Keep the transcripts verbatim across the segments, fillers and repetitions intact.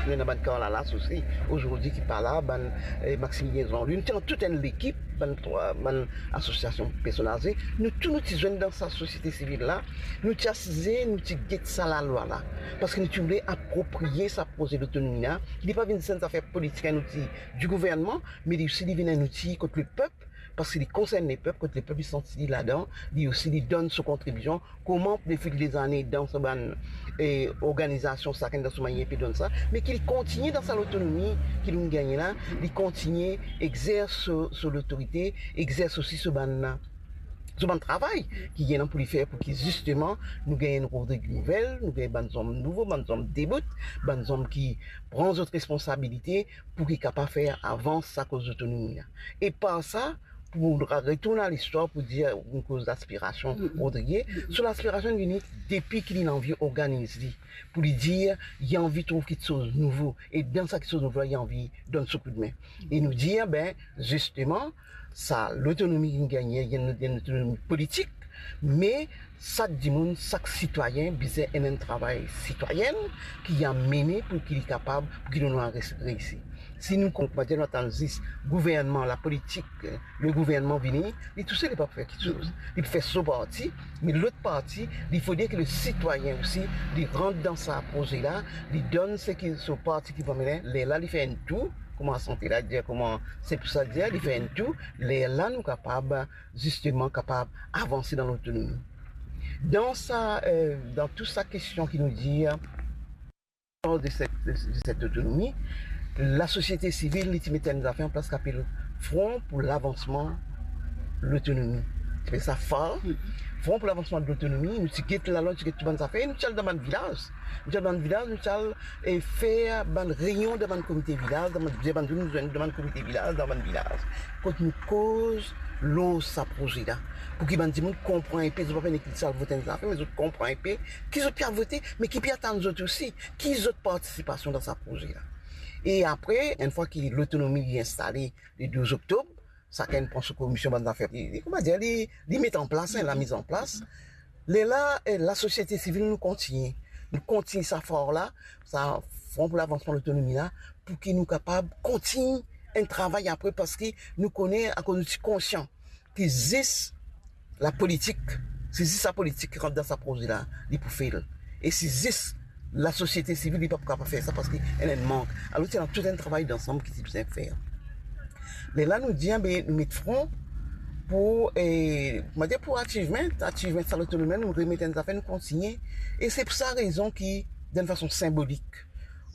Nou ena bann Carla Lass osi, ozordi ki pa la, bann, eh, Maximilien Jean-Louis, nou ti ena tou enn lekip, bann trwa, bann asosiasion personn aze, nou tou nou ti zwenn dan sa sosiete sivil la, nou ti asize, nou ti get sa lalwa la, parski nou ti oule apropriye sa proze lotonomi la, ki li pa vinn zis enn zafer politik, enn outi di gouvernman, me li osi li vinn enn outi kot lepep, parski li konsern lepep, kot lepep li santi li ladan, li osi li donn so kontribision, kouma defil dezane dan so bann, eh, organizasion, sakenn dan so manier pe donn sa, me ki li kontigne dan sa lotonomi ki nou gagne la, li kontigne exers so, so lotorite, exers osi so bann, so bann travay ki ena pou li fer pou ki zisteman nou gagn enn Rodrig nouvel, nou gagn bann zom nouvo, bann zom debout, bann zom ki pran zot responsabilite, pou ki kapav fer avans sa koz lotonomi la. E par sa, pou retourn a listwar, pou dir, nou koz laspirasion Rodrigue, so laspirasion vini depi ki li anvi organiz li, pou li dir, li anvi trouv kiksoz nouvo, e dan sa kiksoz nouvo la, li anvi donn so koudme. E nou dir, be, zisteman, sa lotonomi ki nou gagne, li enn, enn lotonomi politik, me sak dimoun, sak sitwayin bizin ena enn travay sitwayen ki li amene pou ki li kapav, pou ki nou res-, reisi. Si nou konpran, nou atann zis gouvernman, lapolitik, le gouvernman vini, li tousel li pa pou fer kiksoz. Li pou fer so parti, me lot parti, li fode ki le sitwayin osi, li rant dan sa proze la, li donn seki so parti ki pou amene, lerla li fer enn tou, kouma sante la dir, kouma se pou sa dir, li fer enn tou, lerla nou kapav zisteman kapav avanse dan lotonomi. Dan sa, eh, dan tou sa kestion ki nou dir, de set, de, de set otonomi, lasosiete sivil, li ti met enn zafer an plas ki apel Front pour l'avancement de l'autonomie. Ti apel sa FAR. Front pour l'avancement de l'autonomie, nou ti get lalwa, nou ti get tou bann zafer, nou ti al dan bann vilaz. Nou ti al bann vilaz, nou ti al e fer bann reynion dan bann komite vilaz, dan bann, bann dimoun zwenn dan bann komite vilaz, dan bann vilaz. Kot nou koz lor sa proze la. Pou ki bann dimoun konpran enpe, zot pa pe nek li ti al vot enn zafer, me zot konpran enpe ki zot pe al vote, me ki pe atann zot osi, ki zot partisipasion dan sa proze la. E apre, enn fwa ki lotonomi li instale le douz oktob, sakenn pran so komision, bann zafer, li, li, kouma dir, li, li met an plas, hein, lamiz an plas. Lerla, eh, lasosiete sivil, nou kontigne. Nou kontigne sa FAR la, sa Front pour l'avancement de l'autonomie la, pou ki nou kapav kontigne enn travay apre, parski nou kone, akoz nou ti konsian ki zis lapolitik, se zis lapolitik ki rant dan sa proze la, li pou fel. E se zis lasosiete sivil, li pa pou kapav fer sa parski ena enn mank. Alor, ti ena tou enn travay dansam ki ti bizin fer. Lerla nou dir, be, nou met fron pou, eh, mo dir pou achievement, achievement sa lotonomi, nou remet enn zafer, nou kontigne. E se pou sa rezon ki, dan enn fason sinbolik,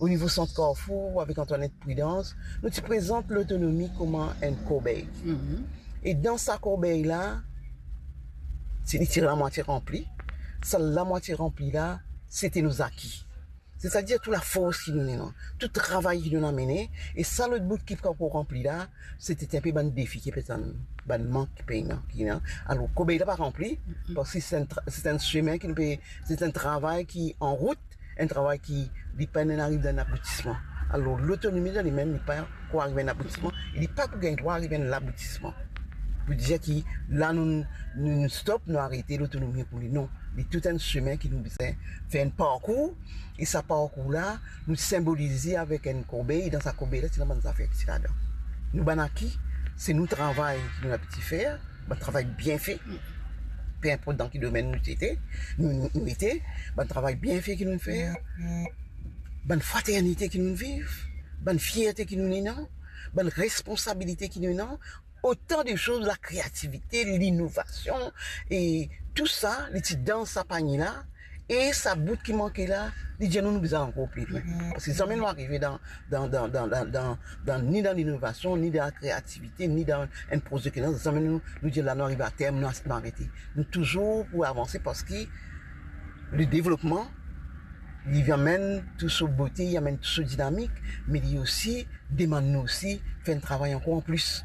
o nivo Sant Carrefour, avek Antoinette Prudence, nou ti prezant lotonomi kouma enn korbey. E dan sa korbey la, ti, li ti lamwatie ranpli. Sa lamwatie ranpli la, se ti nou zaki. Setadir tou lafors ki nou ena, tou travay ki nou ena mene, e sa lot bout ki pa ankor ranpli la, se ti enpe bann defi ki pe tann, bann mank ki pe ena, ki ena. Alor, korbey la pa ranpli, parski se enn tra-, se enn semin ki nou pe, se enn travay ki an rout, enn travay ki li pa'nn ariv dan enn aboutisman. Alor, lotonomi dan li mem, li pa ankor ariv enn aboutisman, e li pa pou gagn drwa ariv enn laboutisman. Pou dir ki la nou, nou, nou stop, nou arete lotonomi pou li. Non, li tou enn semin ki nou bizin fer enn parkour, e sa parkour la, nou sinbolize avek enn korbey, e dan sa korbey la, ti ena bann zafer ki ti ladan. Nou bann aki, se nou travay ki nou abitye fer, bann travay bien fe, pe inport dan ki domenn nou ti ete, nou, nou, nou ete, bann travay bien fe ki nou fer, bann fraternite ki nou viv, bann fierte ki nou ena, bann responsabilite ki nou ena, otan de soz, lakreativite, linovasion, e tou sa, li ti dan sa panie la, e sa bout ki manke la, li dir nou, nou bizin ankor pli lwin. Parski zame nou arive dan, dan, dan, ni dan linovasion, ni dan lakreativite, ni dan enn proze ki ena, zame nou, nou dir la nou arive aterm, nou, nou arete. Nou touzour pou avanse parski le devlopman, li amenn tou so bote, li amenn tou so dinamik, me li osi demann nou osi fer enn travay ankor anplis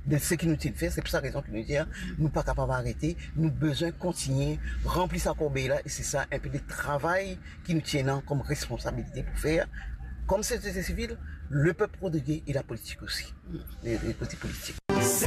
de seki nou ti fer. Se pou sa rezon ki nou dir, nou pa kapav arete, nou bizin kontigne ranpli sa korbey la, e se sa enpe de travay ki nou ti ena kom responsabilite pou fer, kom sosiete sivil, lepep Rodrigue e lapolitik osi, le, le kote politik.